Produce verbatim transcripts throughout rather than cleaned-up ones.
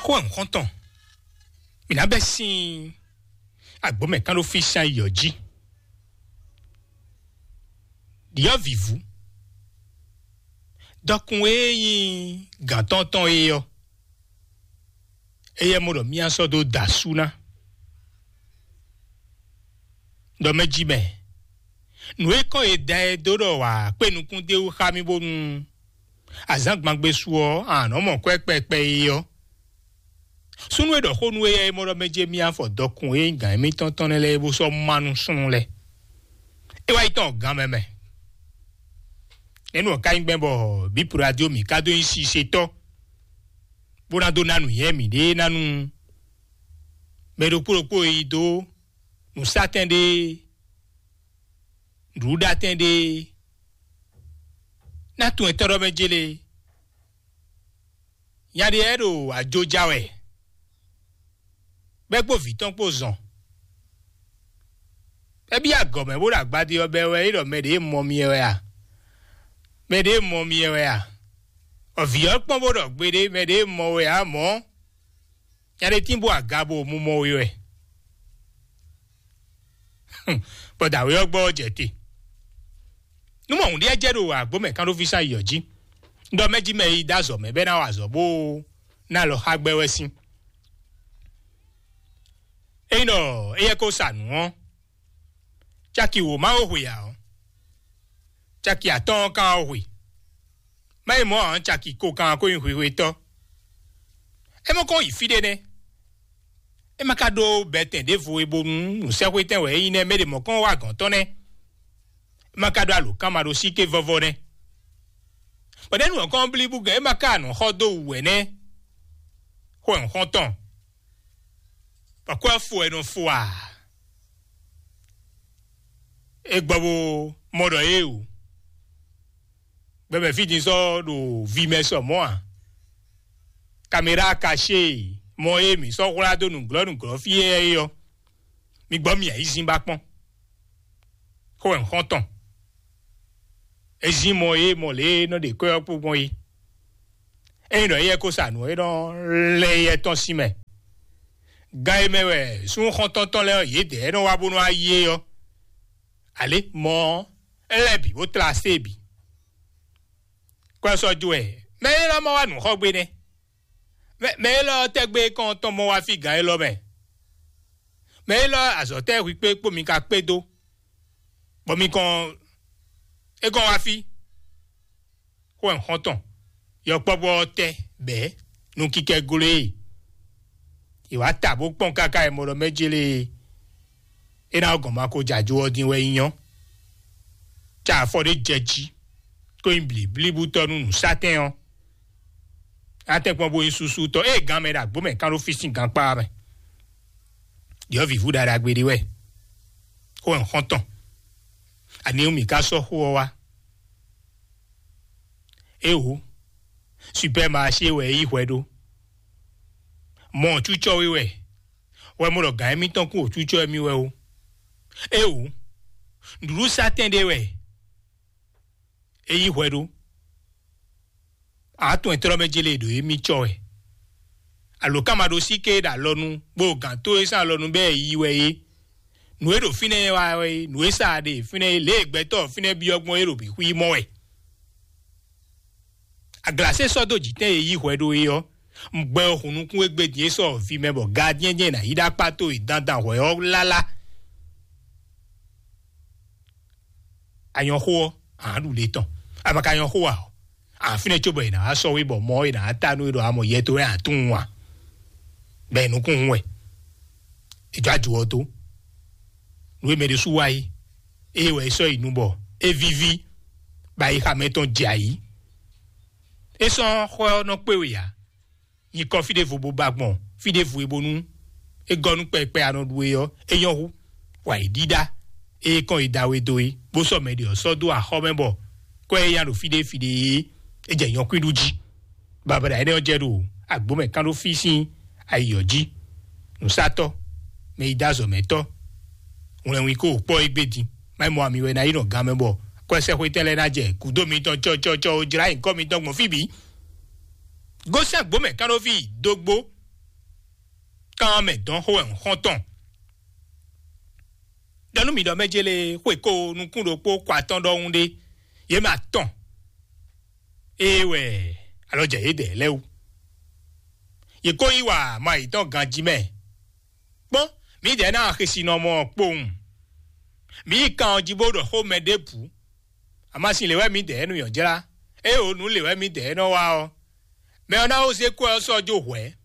Xó ɛ nǔxɔntɔn, mǐ ná bɛ́ sín agbǒmɛ kán ɖó fí sín ayǐ ɔ́ jí. Ɖyɔ̌vǐvú, dɔkun e nyí gǎn tɔn tɔn é ɔ́, éyɛ́ mɔ ɖɔ mía sɔ́ dó da asú ná. Ɖɔ mɛ jí mɛ, nǔ e kɔn e da ɛ dó ɖɔ wǎ kpé nukún d'é wú xá mì bónú azǎngbangbe su ɔ́, a nǎ nɔ mɔ kwɛ́ kpɛkpɛ é ɔ́. Súnnu e ɖɔ xó nú éyɛ́ é mɔ ɖɔ mɛ jɛ mì afɔ dɔkun e nyí gǎn émítɔn tɔn nɛ́ lɛ́ɛ é bó sɔ́ má nú súnnu lɛ́ɛ. É wá yi tɔn gǎn mɛ mɛ. Nɛ̌ nǔ ɔ́ ka nyí gbɛn bɔ bǐ radio mǐ ka dó nyí sisetɔ́, bó ná dó ná nǔnywɛ́ mǐɖée ná nú mɛ ɖokpó ɖokpó e yi dó nǔsátɛn ɖé, nǔɖuɖatɛn ɖé, ná tunwun etɔ́ ɖɔ mɛ jélé. Nya ɖé lɛ́ɛ ɖo ajo ja wɛ, bɔ é kpó vǐ tɔn kpó zɔn. É byɔ́ agɔ̌ mɛ bó ɖo agbadé ɔ́ bɛ́ wɛ é ɖɔ mɛ ɖě mɔ mi wɛ a? Mɛ ɖě mɔ mi wɛ a? Ɔ, vǐ ɔ́ kpɔ́n bó ɖɔ gbeɖé mɛ ɖě mɔ wɛ ǎ mɔ̌. Nya ɖé tín bó aga bo mu mɔ we wɛ. Bɔ dǎwe ɔ́ gbɔ ɔ́ jɛ te. Nú mɔ hǔn ɖíe jɛ ɖo agbǒ mɛ kán ɖó fí sín ayǐ ɔ́ jí, un ɖɔ mɛ jí mɛ e yi dó azɔ̌ mɛ bɔ é ná wa azɔ̌ bó ná alɔ xá gbɛ wɛ sín. Ényí ɖɔ éyɛ́ ko sa nǔ ɔ́, caki wǒ má wó hwe ǎ ɔ́, caki atɔ́ɔ́n kan wá hwe. Má yi mɔ̌ ǎ, caki ko kan ko nyí hwehwetɔ́. É mɔ kɔn yi fí ɖé nɛ́. É ma ka ɖó bɛtɛn ɖěvo e bónú nǔsɛxwetɛn wɛ é nyí nɛ́, mɛ ɖě mɔ̌ kɔn wá gɔ̌n tɔn nɛ́. É ma ka ɖó alǒkanmaɖósíké vɔ́vɔ́ nɛ́. Bɔ ɖɛ̌ nǔ ɔ́ kɔn blí bú gɛ̌n é ma ka nɔ xɔ dó wǔ wɛ nɛ́. Xó ɛ xɔ́ntɔn, bɔ kɔ́ ɛ fo ɛ nɔ fo a? É gbɔ bó mɔ ɖɔ é o. Gbɛmɛ fí din sɔ́ ɖo vi mɛ sɔ mɔ̌ a? Kamera kaṣé mɔ e mǐ sɔ́ hwlá dó nǔglɔ́ nǔglɔ́ fí é ɔ́, mi gbɔ mì ayǐzín ba kpɔ́n. Xó ɛ xɔ́ntɔn, é zín mɔ e mɔ lě e nɔ ɖe kwɛ́ ɔ́ kpó gbɔn é. Ényí ɖɔ éyɛ́ ko sa nǔ e nɔ lɛ́ éyɛ́ tɔn sín mɛ, gan e mɛ wɛ súnnu xɔ́ntɔn tɔn lɛ́ɛ ɔ́ yědɛɛ nɔ wá bó nɔ wá yí é ɔ́, alě mɔ ɔ́, é lɛ́ bǐ bó tlá asé bǐ. Kɔ ɛ sɔ́ jó wɛ, mɛ élɔ́ ma wá nǔ xɔ gbé nɛ́. Mɛ mɛ élɔ́ tɛ́gbé kɔn tɔn mɔ wá fí gǎn élɔ́ mɛ. Mɛ élɔ́ azɔ̌ tɛ́ hwi kpé kpó mi ka kpé dó, bɔ mi kɔn é kɔn wá fí. Xó ɛ xɔ́ntɔn, yɔkpɔ́vú ɔ́ tɛ́ bɛ̌ nú kíkɛ́ gló e. È wǎ ta bó kpɔ́n káká e mɔ ɖɔ mɛ jélé e. É ná gɔn ma ko jɛ ajo ɔ́ din wɛ é nyɔ́. Ca afɔ ɖé jɛ jí, kó nyí blǐblíbútɔ́ nú nǔsátɛn ɔ́. Atɛ́nkpɔ́n bó nyí súsútɔ́ ée gan mɛ ɖo agbǒ mɛ kán ɖó fí sín gankpá mɛ. Ɖyɔ̌vǐvú ɖaɖagbe ɖé wɛ. Xó ɛ xɔ́ntɔn, ani mǐ ka sɔ́ xó ɔ́ wá? Éwo, supɛ́maṣé wɛ é yí hwɛ ɖó. Mɔ cúcɔ́ wé wɛ, wɛ mɔ ɖɔ gǎn émítɔn kún wǒcúcɔ́ émí wɛ ó. Éwo, nǔɖuɖusátɛn ɖé wɛ é yí hwɛ ɖó. Atɔn e tlɔ́ mɛ jélé ɖo émí cɔ wɛ. Alǒkanmaɖósíké e ɖo alɔnu, bó gǎn tó e sín alɔnu bɛ́ yi wɛ é. Nǔ e ɖo fínɛ́ wá wɛ é, nǔ e sa ɖe fínɛ́ é, lě e gbɛtɔ́ fínɛ́ byɔ́ gbɔn é ɖo bǐ xwí mɔ wɛ. Aglasé sɔ́ dó jǐtɛn e yí hwɛ ɖó é ɔ́, un gbɛ ɔ́ hun nukún égbé din é sɔ́ vi mɛ bɔ gadyɛ́n jɛ́n ná yi ɖó akpá towe dandan hwɛ ɔ́ lálá. A nyɔ́ xó ɔ́, a nǎ ɖu le tɔn. A ma ka nyɔ́ xó ǎ ɔ́, a fínɛ́ cóbɔ è nǎ wá sɔ́ we bɔ mɔ ɔ́ è nǎ wá ta nú we ɖɔ a mɔ yɛ towe a tún wǎn. Bɔ è nukún hun wɛ. È jɔ ajo ɔ́ tó. Nǔ e mɛ ɖésú wa é, ée wɛ é sɔ́ yi nu bɔ é víví, bɔ ayixa mɛtɔn jɛ ayǐ. É sɔ́ xɔ ɔ́ nɔ kpé we ǎ. Nyikɔ fí ɖěvo bó ba gbɔn fí ɖěvo e bónú é gɔ́ nú kpɛkpɛ a nɔ ɖu é ɔ́, é nyɔ́ hú. Wa yi ɖíɖá é kɔn yi da we dó é, bó sɔ́ mɛ ɖě ɔ́ sɔ́ dó axɔ́ mɛ bɔ kɔ́ é nya ɖo fí ɖé fí ɖé é, é jɛ nyɔ̌kwín ɖu jí. Babada énɛ́ ɔ́ jɛ ɖo agbǒ mɛ kán ɖó fí sín ayi ɔ́ jí. Nǔsatɔ́, mɛ yi dó azɔ̌mɛtɔ́, wlɛnwín kó kpɔ́ égbé din. Má yi mɔ ami wɛ ná yi nɔ gan mɛ bɔ kɔ́ ɛ sɛ́ xwé tɛn lɛ́ɛ ná jɛ gǔdo mitɔn cɔcɔcɔ ó jlá nyǐkɔ mitɔn gbɔn fí bǐ. Gosɛ́n agbǒ mɛ kán ɖó fí dógbó. Kan mɛ dɔn xó wɛ un xɔ́n tɔn. Ɖɔ nú mi ɖɔ mɛ jélé xwe ko nukún ɖokpó kɔ atɔn ɖɔhun ɖé, yě ma tɔn. Ée wɛ alɔ jɛ yědɛɛ lɛ́ɛ wú. Yě ko yí wa ma yětɔn ganjí mɛ. Kpɔ́n, mǐdɛɛ ná xesinɔmɔ kpowun. Mǐ yi kan ɔ́ jí bó ɖɔ xó mɛ ɖěbǔ. Amasin lě wɛ mǐdɛɛ nɔ nyɔ̌ jlá. Ée o nǔ lě wɛ mǐdɛɛ nɔ wa ɔ́, mɛ ɔ́ ná ó zé kwɛ́ ɔ́ sɔ́ jó hwɛ̌,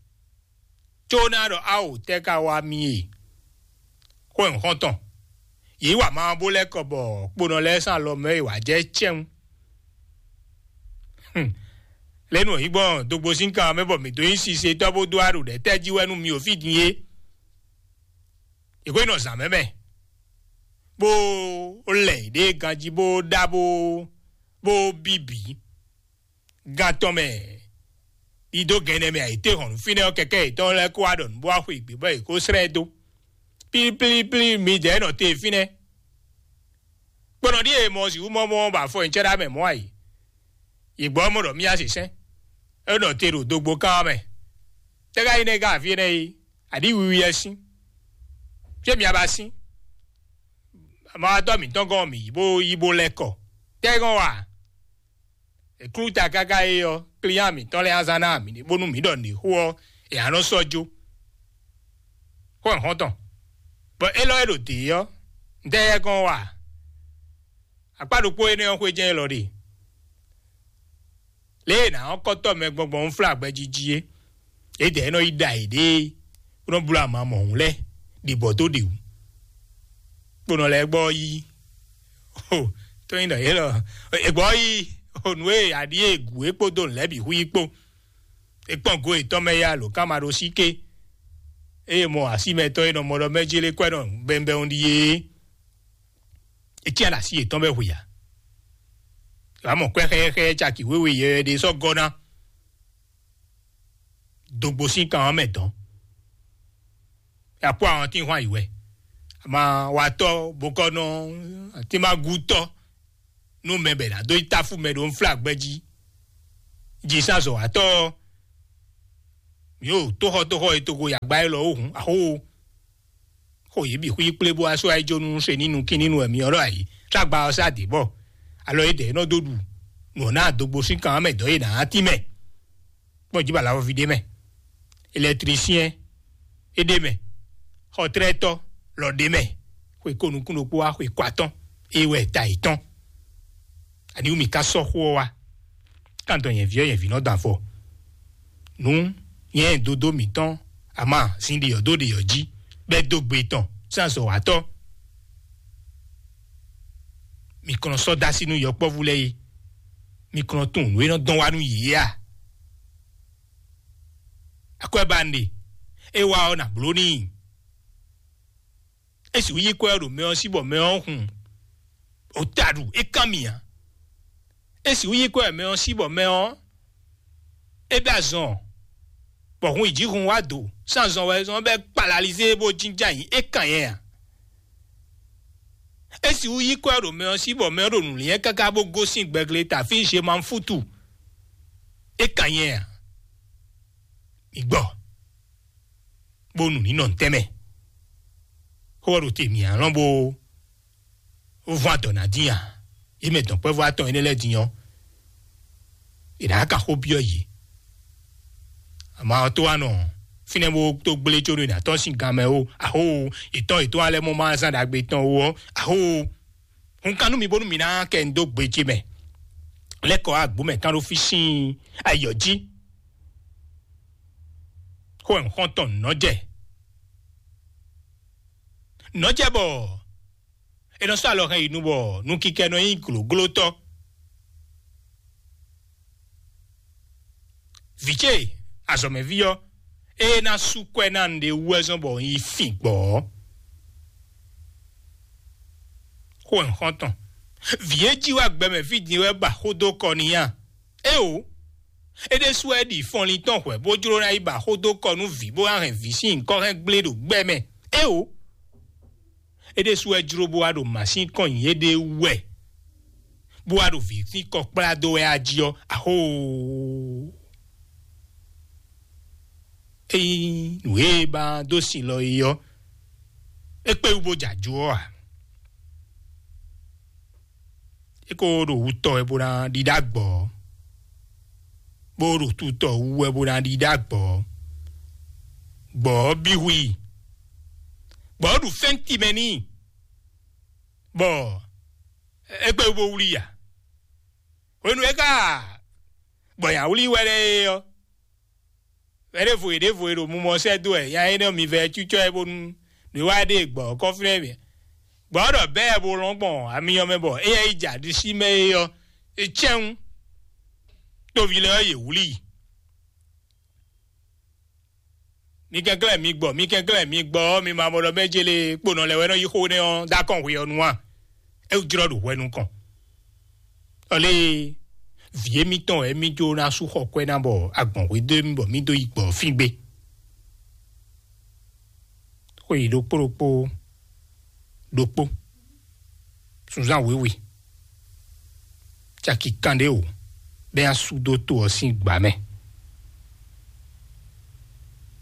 có ná ɖɔ áwǒ tɛ́ ka wá mì e. Xó nyǐxɔ́ntɔn, yě yi wa ma ɔ́ bó lɛ́ kɔ bɔ kponɔ lɛ́ɛ sín alɔ mɛ e wǎ jɛ cɛ́nwú. Lě nú yǐ gbɔn dogbo sín kan mɛ bɔ mǐ dó nyí sisetɔ́ bó dó aɖu ɖɛ̌ tɛ́ jí wɛ nú mi o fí din é. Yě ko nɔ zǎn mɛ mɛ, bó lɛ yě ɖe ganjí bó ɖá bó bó bíbí. Gán tɔn mɛ, ɖidó gɛnɛ mɛ ayǐtéhɔ̌nnu fínɛ́ ɔ́ kɛkɛ́ yětɔn lɛ́ɛ kó wá ɖɔ nǔ bó wá xwe gbě bɔ yě kó slɛ́ ɛ dó. Plíplíplí midɛɛ nɔ te fínɛ́. Kponɔ ɖíe mɔ sixú mɔ mɔ bɔ afɔ nyicɛ́ ɖá mɛ mɔ̌ a yi. Yě gbɔ́ mɔ ɖɔ mì yá sǐsɛ́n, é nɔ te ɖo dogbo kán ɔ́ mɛ. Tɛ́ ka nyí nɛ́ gán afí énɛ́ yi? Aɖǐ wiwi ɛ sín. Fí e mi a ba sín? Amawatɔ́ mǐtɔn gɔ́n mǐ yi bó yi bó lɛ́ kɔ. Tɛ́ gɔ́n wa? È klú ta káká é ɔ́, klíán mǐtɔn lɛ́ɛ azán ná mǐ bónú mǐ ɖɔ nǔɖé xó ɔ́, è nǎ nɔ sɔ́ jó. Xó ɛ xɔ́ntɔn, bɔ élɔ́ e ɖo dě ɔ́, ntɛ́ yɛ gɔ́n wa? Akpá ɖokpó énɛ́ ɔ́ xwé jɛ́n élɔ́ ɖe. Lě e è nǎ ɔ́ kɔ́tɔ́ mɛ gbɔngbɔn ń flá gbɛjiji é, yědɛɛ nɔ yi ɖa yěɖée, bó nɔ bló ama mɔ̌hun lɛ́ɛ ɖi bɔ dó ɖe wǔ. Kponɔ lɛ́ɛ gbɔ yí, o, tó nyí ɖɔ yě lɔ, è gbɔ yí, o, nǔ e aɖí e gǔ é kpódó nǔ lɛ́ɛ bǐ hu yí kpó. É kpɔ́n go yětɔn mɛ yá lǒ ká ma ɖó sí ké. Eye mɔ asímɛtɔ́ e nɔ mɔ ɖɔ mɛ jí lé kwɛ́ nɔ bɛnbɛn ɖíe é. É cyán ɖo así yětɔn bɔ é hu i ǎ. Wǎ mɔ kwɛ́ xɛ́xɛ́ caki wěwe yɛyɛ ɖé sɔ́ gɔ́ ná. Dogbo sín kan ɔ́ mɛ dɔn. Akpó àwọn tí hwan yi wɛ. Ama watɔ bokɔnɔ atímagútɔ nú mɛ bɛ ná dó yi táfú mɛ ɖo nflá gbɛjí. Jǐsázɔ̌watɔ ɔ́, yǒ tóxɔtóxɔ e togo yagba élɔ́ ó hǔn axó. Xo yě bǐ xwí kplé bó wá sɔ́ ayíjó nú se ní nukín ní nu wɛ myɔ ɖɔ ayǐ. Ságba ɔ́ sá dě bɔ alɔ é dɛ̌ nɔ dó ɖu nǔ ɔ́ ná dogbo sín kan mɛ dɔ̌ e nǎ tínmɛ. Kpɔ́n jí bɔ alavɔví ɖé mɛ, elɛtrisiyɛn é ɖé mɛ, xɔtlɛ́tɔ́ lɔ ɖé mɛ, xwe ko nukún ɖokpó wá xwe ko atɔ́n, é wɛ ta yětɔn. Aniwú mi ka sɔ́ xó ɔ́ wá? Kan dɔn nyɛ̌ví ɔ́, nyɛ̌ví nɔ dɔn avɔ. Nǔ nyɛ dodó mǐtɔn ama zin ɖeyɔ̌ dó ɖeyɔ̌ jí, bɛ́ dó gbe tɔn sín azɔ̌watɔ́. Mi kɔn nɔ sɔ́ dó así nú yɔkpɔ́vú lɛ́ɛ é. Mi kɔn nɔ tunwun nǔ e nɔ dɔn wá nú yě é a? Akwɛ́ ba un ɖe, é wá ɔ́ nǎ bló n'i. É sixú yí kwɛ́ ɔ́ ɖo mɛ ɔ́ sí bɔ mɛ ɔ́ hun ota ɖu é kán mì ǎ. É sixú yí kwɛ́ mɛ ɔ́ sí bɔ mɛ ɔ́ é bɛ́ azɔn, bɔ hun yi jí hun wá do sín azɔn wɛ zɔn bɛ́ kpalalizé bó jínjɔ́n ayǐ é kàn nyɛ ǎ. É sixú yí kwɛ́ ɖo mɛ ɔ́ sí bɔ mɛ ɔ́ ɖo nǔ liɛ́n káká bó gosín gbɛgle tafí Zemanfútu. É kàn nyɛ ǎ. Mi gbɔ, bó nu nǐ nɔ ntɛ́nmɛ. Xó ɔ́ ɖo te mǐ alɔ́n bó vɔ́n adɔ̌ ná dín a? Yě mɛ dɔ̌nkpɛvú atɔn énɛ́ lɛ́ɛ din ɔ́, è nǎ ka xó byɔ́ yě. Ama ɔ́ tó wá nɔ fínɛ́ bó tó gblé có ɖó è nǎ tɔ́n sín gan mɛ ó, axó, yětɔn yětɔn alɛ mɔ ma zán ɖagbe tɔn ó ɔ́, axó. Hun kan nú mi bónú mi ná kɛ un dó gbe ce mɛ. Lɛ́ kɔ wá gbǒ mɛ kán ɖó fí sín ayɔ jí. Xó ɛ xɔ́ntɔn nɔ́ jɛ. Nɔ́ jɛ bɔ è nɔ sɔ́ alɔ hɛn yi nu bɔ nukikɛ nɔ nyí glǒglótɔ́. Vǐ ce azɔ̌mɛví ɔ́, ée ná sú kwɛ́ ná un ɖe wú wɛ zɔ́n bɔ un yi fin gbɔ̌ ɔ́. Xó ɛ xɔ́ntɔn. Vǐ e jí wá gbɛmɛ fí din wɛ ba xó dó kɔ n'i a? Éeǒ! É ɖésú wɛ ɖi fɔnlin tɔn hwɛ̌ bó jló ná yi ba xó dó kɔ nú vǐ bó ná hɛn vǐ sín nyǐkɔ hɛn gblé ɖo gbɛ mɛ. Éeǒ! É ɖésú wɛ jló bó wá ɖo mǎsín kɔn nyi éɖée wú wɛ, bó wá ɖo vǐ sín kɔ kplá dó wɛ á jí ɔ́, axóoo! Ényí nǔ e ba dó sin lɔ é ɔ́, é kpé wú bó jɛ ajó ɔ́ ǎ. É ko ɖo wutɔ wɛ bó ná ɖiɖá gbɔ̌, bó ɖo tutɔ wú wɛ bó ná ɖiɖá gbɔ̌. Gbɔ̌ ɔ́ bí hu i. Gbɔ̌ ɔ́ ɖu fɛ́nti mɛ n'i, bɔ é kpé wú bó wlí i ǎ. Hwenu e é ka gbɔ nya wlí wɛ lɛ́ɛ é ɔ́, vɛ̌ ɖěvo e ɖěvo e ɖo mumɔ sɛ́ dó wɛ nya énɛ́ ɔ́ mi vɛ cúcɔ ɛ bónú nǔ e wá ɖe gbɔ̌ kɔ́fínɛ́ mɛ. Gbɔ̌ ɖɔ bɛ́ ɛ bo lɔn gbɔn amyɔ mɛ bɔ éyɛ́ yi jɛ aɖisí mɛ é ɔ́, é cɛ́n wú tóví lɛ́ɛ ɔ́ yě wlí i. Mi kɛnklɛ́n mi gbɔ, mi kɛnklɛ́n mi gbɔ ɔ́, mi ma mɔ ɖɔ mɛ jele kponɔ lɛ́ɛ wɛ nɔ yí xó nɛ́ ɔ́ dó akɔ́n hwe ɔ́ nu a? É jlɔ́ ɖo hwɛ nukɔn. Ɔlé, vǐ émítɔn wɛ émí jó ná sú xɔ kwɛ́ ná bɔ agbɔ̌n hwedó émí bɔ mí dó yi gbɔ̌ fín gbé. Xwe yi ɖokpó ɖokpó ɖokpó, sunzán wěwe, caki kanɖé wǒ, bɛ́ nya sú dó to ɔ́ sín gbǎ mɛ.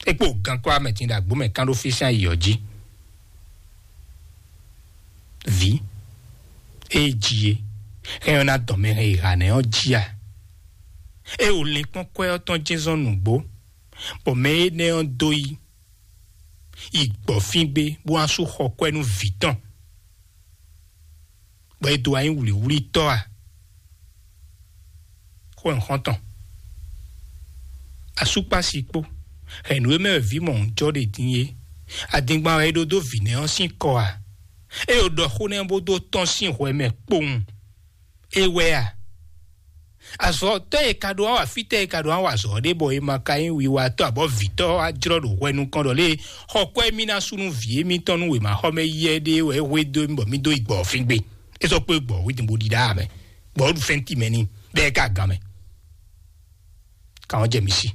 É kpo gankpá mɛ din ɖo agbǒ mɛ kán ɖó fí sín ayǐ ɔ́ jí. Vǐ e jí é hɛn ɔ́ ná dɔn mɛ hɛn yi ha nɛ́ ɔ́ jí a? É o linkpɔ́n kwɛ́ ɔ́ tɔn jɛ́n zɔn nǔgbó, bɔ mɛ énɛ́ ɔ́ dó yi yi gbɔ̌ fín gbé bó wá sú xɔ kwɛ́ nú vǐ tɔn, bɔ é dó wá nyí wlǐwlítɔ́ a? Xó nyǐxɔ́ntɔn, asúkpási kpó hɛ̌nnu e mɛ wɛ vǐ mɔ̌hunjɔ́ ɖe din é, adingban wɛ é ɖó dó vǐ nɛ́ ɔ́ sín kɔ a? É o ɖɔ xó nɛ́ bó dó tɔ́n sín hwɛ mɛ kpowun. É wɛ a? Azɔ̌tɔ́ e ka ɖó wá wa fítɛ́ e ka ɖó wá wa azɔ̌ ɖé bɔ è ma ka nyí wiwatɔ́ abɔ vǐtɔ́ wá jlɔ́ ɖo hwɛ nukɔn ɖɔ lé xɔ kwɛ́ mì ná sú nú vǐ émítɔn nú wěmaxɔmɛ yɛ ɖé wɛ é hwedó mì bɔ mì dó yi gbɔ̌ fín gbe. É sɔ́ kpé gbɔ̌ wí din bó ɖiɖá mɛ, gbɔ̌ ɖu fɛ́nti mɛ n'i, bɔ é ka gan mɛ. Kàn ɔ́ jɛ mi sí.